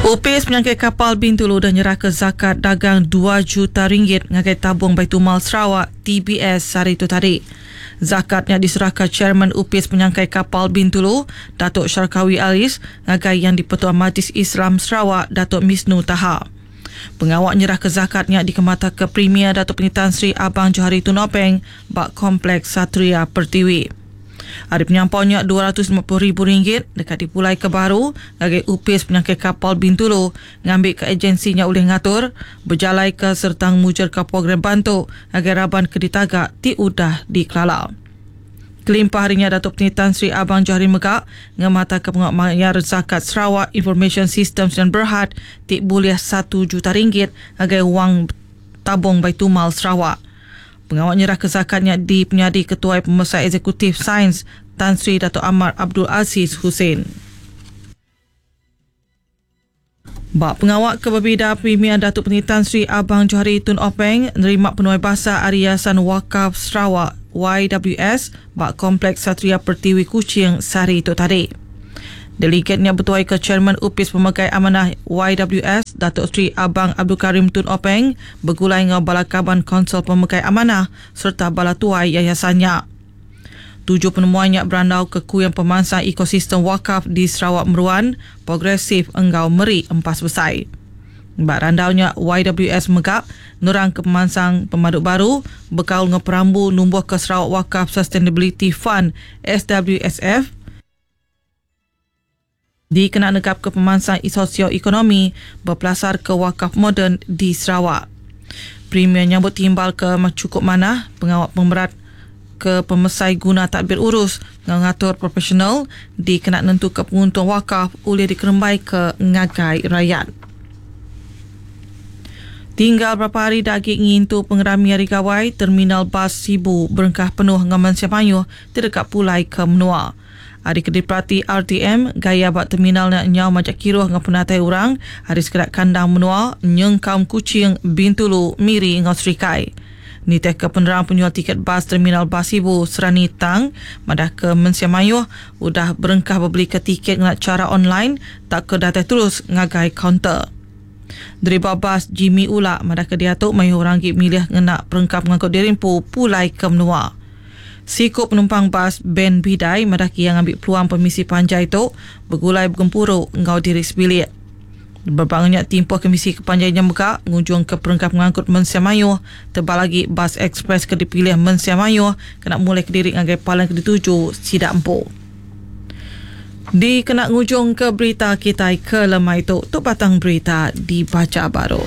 Opis Penyangkai Kapal Bintulu udah nyerahka zakat dagang dua juta ringgit ngagai Tabung Baitulmal Sarawak, TBS, sehari tu tadi. Zakat nya diserahka Chairman Opis Penyangkai Kapal Bintulu, Datuk Sharkawi Alis ngagai Yang di-Pertua Majlis Islam Sarawak Datuk Misnu Taha. Pengawa nyerahka zakat nya dikemataka Premier Datuk Patinggi Tan Sri Abang Johari Tun Openg ba Kompleks Satria Pertiwi. Ari penyampau nya RM250 ribu deka dipulaika baru ngagai Opis Penyangkai Kapal Bintulu ngambika ejensi nya ulih ngatur, bejalaika sereta ngemujurka program bantu ngagai raban ke ditaga ti udah dikelala. Kelimpah ari nya Datuk Patinggi Tan Sri Abang Johari mega ngemataka pengawa mayar zakat Sarawak Information System Sdn Berhad ti bulih satu juta ringgit ngagai wang Tabung Baitumal Sarawak. Pengawa nyerahka zakat nya dipenyadi Ketuai Pemesai Eksekutif Sains Tan Sri Datuk Amar Abdul Aziz Husain. Ba pengawa ke bebida, Premier Datuk Patinggi Tan Sri Abang Johari Tun Openg nerima penuai basa ari Yayasan Wakaf Sarawak, YWS, ba Kompleks Satria Pertiwi Kuching sehari tu tadi. Delegat nya betuaika Chairman Opis Pemegai Amanah YWS Datuk Seri Abang Abdul Karim Tun Openg begulai enggau bala kaban Kaunsil Pemegai Amanah sereta bala tuai yayasan nya. Tuju penemuai nya berandauka kuing pemansang ekosistem wakaf di Sarawak meruan, progresif enggau meri empas besai. Ba randau nya, YWS mega nerangka pemansang pemadu baru bekaul enggau perambu numbuhka Sarawak Wakaf Sustainability Fund, SWSF, dikena negapka pemansang sosioekonomi bepelasarka wakaf moden di Sarawak. Premier nyambut timbal ke chukup manah pengawa pemerat ke pemesai guna tadbir urus enggau ngatur profesional dikena nentuka penguntung wakaf ulih dikerembaika ngagai rayat. Tinggal berapa hari da agi ngintu pengerami Hari Gawai, Terminal Bas Sibu berengkah penuh enggau mensia mayuh ti deka pulai ke menua. Ari ke diperati RTM, gaya ba terminal nya nyau majak kiruh enggau penatai orang ari sekeda kandang menua nyengkaum Kuching, Bintulu, Miri enggau Serikai. Nitihka penerang penyual tiket bas Terminal Bas Sibu, Serani Tang, madahka mensia mayuh udah berengkah bebelika tiket ngena chara online tauka datai terus ngagai kaunter. Deriba bas Jimmy Ulak madahka diatu mayuh orang agi milih ngena perengka pengangkut diri empu pulai ke menua. Siku penumpang bas Ben Bidai madah ke iya ngambi peluang pemisi panjai tu begulai begempuru enggau diri sebilik. Berebak enggau nya timpuh kemisi ke panjai nya mega ngujungka perengka pengangkut mensia mayuh tebal agi bas ekspres ke dipilih mensia mayuh kena mulai kediri ngagai palan ke dituju sida empu. Dikena ngujungka berita kitai ke lemai tu, tu batang berita dibacha baru.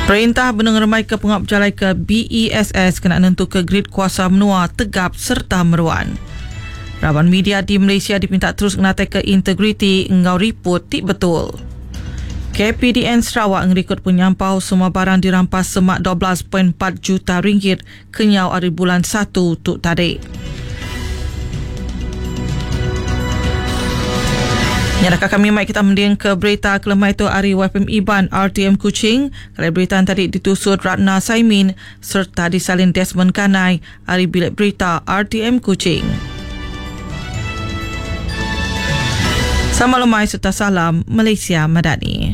Perintah benung ngerembaika pengawa bejalaika BESS kena nentuka grid kuasa menua tegap sereta meruan. Raban media di Malaysia dipinta terus ngenataika integriti enggau riput ti betul. KPDN Sarawak ngerikod penyampau semua barang dirampas semak 12.4 juta ringgit kenyau ari bulan Satu tu tadi. Nyadaka kami mai kita mending ke berita kelemai tu ari YFM Iban RTM Kuching. Kelai berita tadi ditusut Ratna Saimin serta disalin Desmond Kanai ari Bilik Berita RTM Kuching. Sama lemai serta salam Malaysia Madani.